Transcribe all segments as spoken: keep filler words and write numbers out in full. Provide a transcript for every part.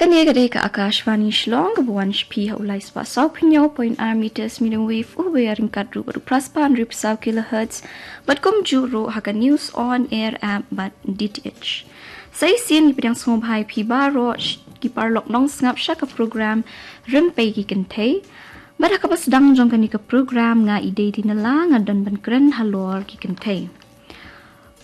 Kane ka dei ka Akashvani Shillong, kaba wan sha phi ha u lai spah saw phew hynñiew point ar meters medium wave, u ba ïaryngkat ruh bad u phra spah hynriew phew saw kilohertz, bad kumjuh ruh ha ka News on Air app bad D T H. Sa shisien ngi pdiang sngewbha ïa phi baroh sh-, ki paralok nongsngap sha ka program Rympei ki Kynthei. Bad ha kaba sdang jong kane ka program nga Idei Dinala nga don ban kren halor ki kynthei.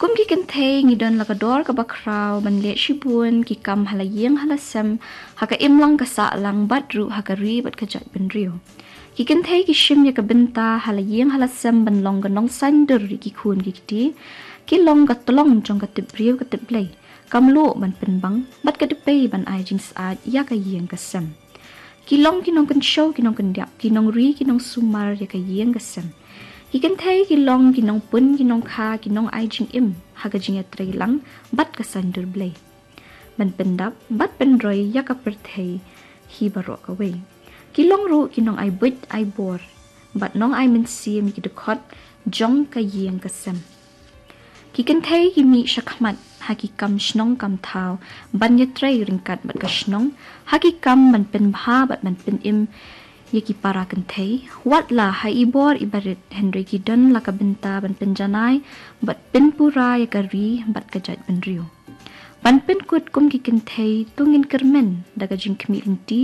Kum ki kynthei ngi don la ka dor kaba khraw ban leh shibun ki kam ha la ïing ha la sem, ha ka imlang ka sahlang bad ruh ha ka ri bad ka jaitbynriew. Ki kynthei ki shim ïa ka bynta ha la ïing ha la sem ban long ka nongsaiñdur ïa ki khun ki kti, ki long ka tlong jong ka tip briew ka tip Blei, ka mluh ban pynbang bad ka dpei ban ai jingsaid ïa ka ïing ka sem. Ki long ki nongkynshew ki nongkyndiap, ki nongri ki nongsumar ïa ka ïing ka sem. Ki kynthei ki long ki nongpun ki nongkha ki nongai jingim ha ka jingïatreilang bad ka saiñdur Blei, ban pyndap bad pynroi ïa ka pyrthei hi baroh kawei. Ki long ruh ki nongai buit ai bor bad nongai mynsiem ïa ki dkhot jong ka ïing ka sem. Ki kynthei ki mih shakhmat ha ki kam shnong kam thaw ban ïatrei ryngkat bad ka shnong, ha ki kam ban pynbha bad ban pynim ïa ki para kynthei. Wat la ha i bor i barit, hynrei ki don la ka bynta ban pynjanai bad pynpura ïa ka ri bad ka jaitbynriew. Ban pynkut kum ki kynthei, to ngin kyrmen da ka jingkhmih lynti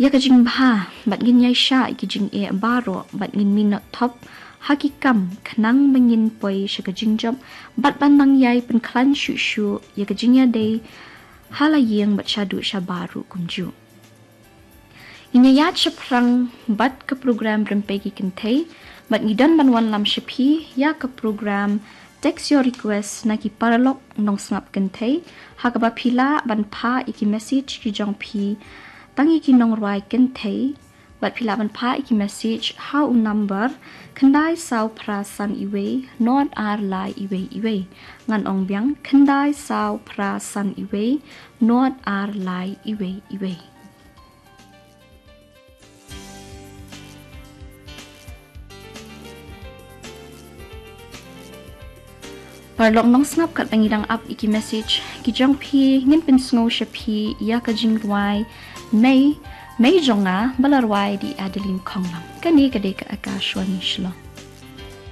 ïa ka jingbha bad ngin ïaishah ïa ki jingeh baroh bad ngin mih noh thop ha ki kam khnang ba ngin poi sha ka jingjop bad ban nang ïai pynkhlaiñ shuh shuh ïa ka jingïadei ha la ïing bad shaduh shabar ruh kumjuh. Ngin ïaid shaphrang bad ka program Rympei ki Kynthei, bad ngi don ban wanlam sha phi ïa ka program Text Your Request na ki paralok nongsngap kynthei, ha kaba phi lah ban phah ïa ki message ki jong phi tang ïa ki nongrwai kynthei, bad phi lah ban phah ïa ki message ha u number khyndai saw phra san wei, nod ar lai wei wei. Ngan ong biang, khyndai saw phra san wei, nod ar lai wei wei. Paralok nongsngap, katba ngi dang ap ïa ki message ki jong phi, ngin pynsngew sha phi ïa ka jingrwai Mei, Mei jong nga, ba la rwai da i Adeline Khonglam. Kane ka dei ka Akashvani Shillong.